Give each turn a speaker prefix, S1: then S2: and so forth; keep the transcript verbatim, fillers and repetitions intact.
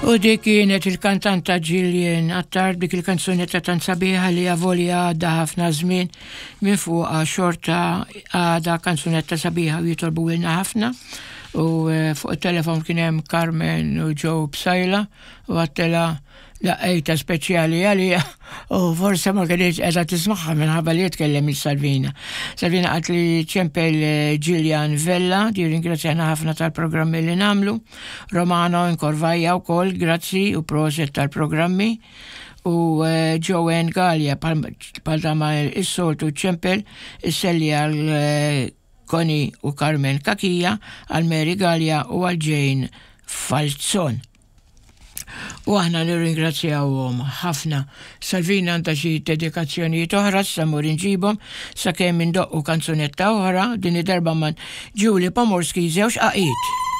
S1: U dik kienet il-kantanta Gillian Attard, dik il-kanzunetta tant sabiħa li avolja għadda ħafna żmien minn fuqha, xorta għadha kanzunetta sabiħa u jitolbu lilna ħafna. U eh, fuq il-telefon kien hemm Carmen u Joe Psaila u għedtilha laqajta speċjali għalija u forse ma kienx qiegħda tismagħha minħabba li jitkellem il-Salvina. Salvina qalt li ċempel eh, Gillian Vella, di ringrazzjana ħafna tal-programmi li nagħmlu. Romano Incorvaja u kol, grazzi u prosit tal-programmi. U eh, Joanne Gallia, bħal ma is-soltu ċempel, isselli għal eh, Connie u Carmen Kakija, għal Mary Gallia u għal Jane Falzon. U aħna nirringrazzjawhom ħafna. Salvina għandha xi dedikazzjonijiet oħra, sa mmur inġibhom, sakemm indoqqu kanzunetta oħra, din id-darba minn Julie Pomorski, Żewġ Għaqiet.